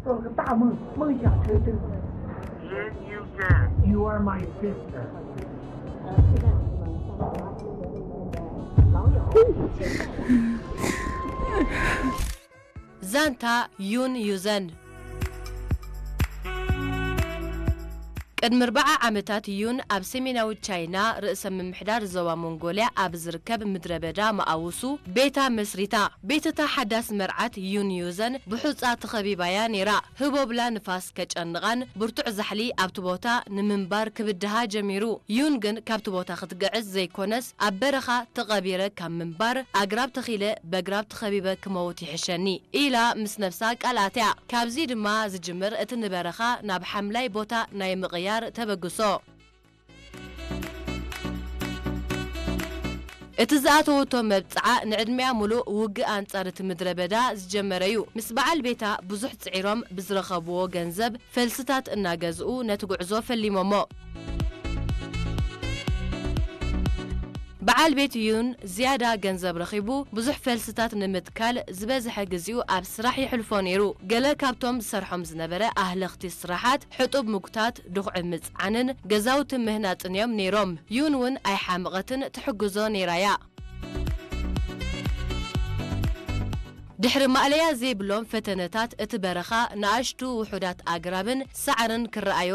做了个大梦，梦想成真。 Yun Yuzan. You are my sister. เซนทา ยุน ยูเซน ቅድሚ ኣርብዓ ዓመታት ዩን ኣብ ሰሜናዊ ቻይና ርእሰ ምምሕዳር ዞባ ሞንጎልያ ኣብ ዝርከብ ምድረ በዳ መኣውሱ ቤታ መስሪታ። ቤት እታ ሓዳስ መርዓት ዩን ዩዘን ብሑጻ ተኸቢባ እያ ነይራ። ህቦብላ ንፋስ ከጨንቓን ብርቱዕ ዛሕሊ ኣብቲ ቦታ ንምንባር ክብድሃ ጀሚሩ። ዩን ግን ካብቲ ቦታ ክትግዕዝ ዘይኮነስ ኣብ በረኻ ተቐቢረ ካብ ምንባር ኣግራብ ተኺለ በግራብ ተኸቢበ ክመውት ይሕሸኒ ኢላ ምስ ነብሳ ቃል ኣትያ። ካብዚ ድማ ዝጅምር እቲ ንበረኻ ናብ ሓምላይ ቦታ ናይ ምቕያር ተበግሶ። እቲ ዝኣተወቶ መብጽዓ ንዕድሚኣ ሙሉእ ውግእ ኣንጻር እቲ ምድረ በዳ ዝጀመረ እዩ። ምስ በዓል ቤታ ብዙሕ ጽዒሮም ብዝረኸብዎ ገንዘብ ፈልስታት እናገዝኡ ነቲ ጉዕዞ ፈሊሞሞ። በዓል ቤት ዩን ዝያዳ ገንዘብ ረኺቡ ብዙሕ ፈልስታት ንምትካል ዝበዝሐ ግዚኡ ኣብ ስራሕ የሕልፎ ነይሩ። ገለ ካብቶም ዝሰርሖም ዝነበረ ኣህለኽቲ ስራሓት ሕጡብ ምጉታት፣ ድኹዒ ምጽዓንን ገዛውቲ ምህናጽን እዮም ነይሮም። ዩን እውን ኣይሓመቐትን ትሕግዞ ነይራያ። ድሕሪ ማእለያ ዘይብሎም ፈተነታት እቲ በረኻ ንኣሽቱ ውሑዳት ኣግራብን ሳዕርን ክረኣዮ